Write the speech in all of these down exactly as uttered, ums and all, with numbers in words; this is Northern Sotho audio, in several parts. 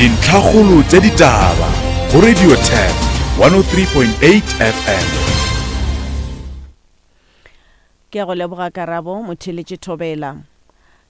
Dintlhakgolo tša ditaba go Radio Turf one oh three point eight F M. Ke a go leboga Karabo Motheletše Thobela.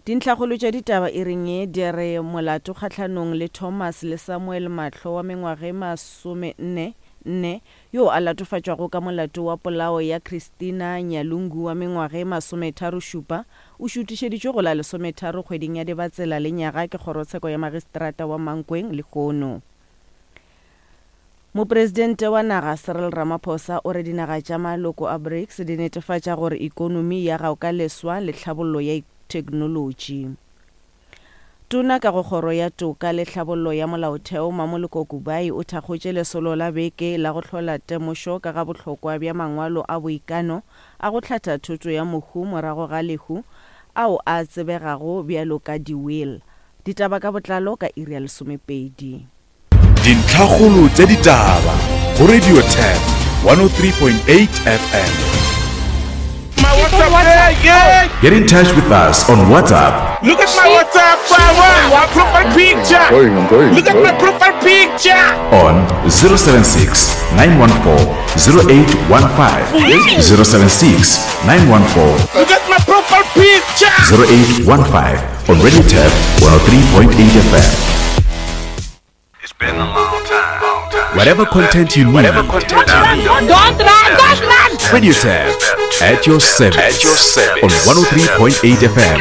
Dintlhakgolo tša ditaba e reng ye di re molato kgahlanong le Thomas le Samuel Mahlo wa mengwaga e masome nne nne yo a latofatšwago ka molato wa polao ya Christina Nyalungu wa mengwaga e masometharo šupa o šutišeditšwe go la lesometharo kgweding ya Dibatsela le nyaga ke kgorotsheko ya magistrata wa Mankweng lehono. Mopresidente wa naga Cyril Ramaphosa o re dinaga tša maloko a BRICS di netefatša gore ikonomi ya gaoka leswa le tlhabollo ya theknolotši. Tona ka go kgoro ya toka le tlhabollo ya molaotheo Mamoloko Kubai o thakgotše lesolo la beke la go hlola temošo ka ga bohlokwa bja mangwalo a boikano a go hlatha thoto ya mohu morago ga lehu ao a tsebegago bjalo ka di-will. Ditaba ka botlalo ka iri ya lesomepedi. Dintlhakgolo tša ditaba go Radio Turf one oh three point eight F M. My WhatsApp, yeah, yeah. Get in touch with us on WhatsApp. Look at my WhatsApp, power. My profile picture. I'm going, I'm going, Look at I'm my going. profile picture. On zero seven six, nine one four, zero eight one five. zero seven six, nine one four. Look at my profile picture. zero eight one five on Radio Turf one oh three point eight F M. It's been a long time. Long time. Whatever content you need. Whatever content you need. Don't run, don't run. Radio Turf at your service. At your service. On one oh three point eight F M.